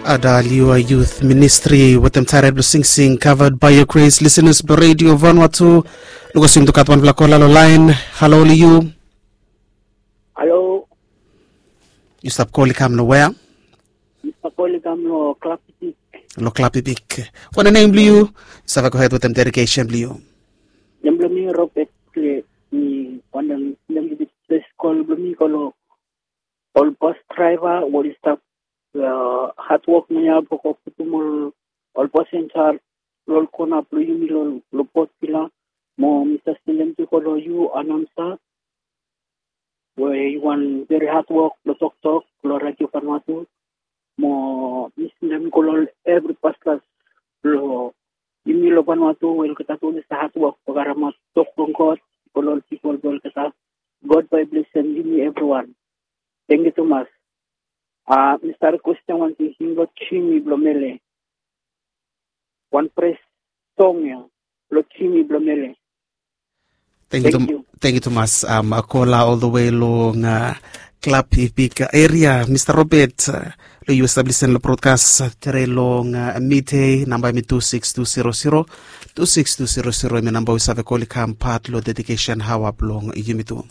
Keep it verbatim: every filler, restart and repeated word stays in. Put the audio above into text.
Ada liu a youth ministri wetem taret blong singsing covered by your grace, listeners blong radio vanua tu. Lukas yum tu gat wanpela kola long lain. Halo long yu. Halo. Yu stap kol i kam long wea? Mi stap kol i kam long Klapipik. Long Klapipik. Wanem nem blong yu? Yu save gohed wetem dedikesen blong yu. Nem blong mi Robert Kle. Mi wanem nem blong mi ples kol blong mi go long ol bos draiva we oli stap hatwok naoia blong go putum ol ol bos en sa long ol kona blong yumi long Port Vila. Mo mi sa sendem tu go long yu Anamsa we yu wan veri hatwok blong toktok long radio Vanuatu. Mo mi sendem go long ol evri pastors blong yumi long Vanuatu we olgeta tu oli sa hatwok blong karemaot tok blong God go long ol pipol blong olgeta. God bae i blesem yumi evriwan. Tangkiu tumas. A mi save kwestin wan tingting long Jimmy blong Mele. Wan pres song ya long Jimmy blong Mele. Thank you, thank you tumas, um, kola all the way long uh, Klapipik area, Mr. Robert, uh, lo yu stap listen lo broadcast uh, tere long uh, midday, namba mi two six two zero zero, two six two zero zero, mi namba wi save kol i kam pat lo dedication hawa blong yumi tu.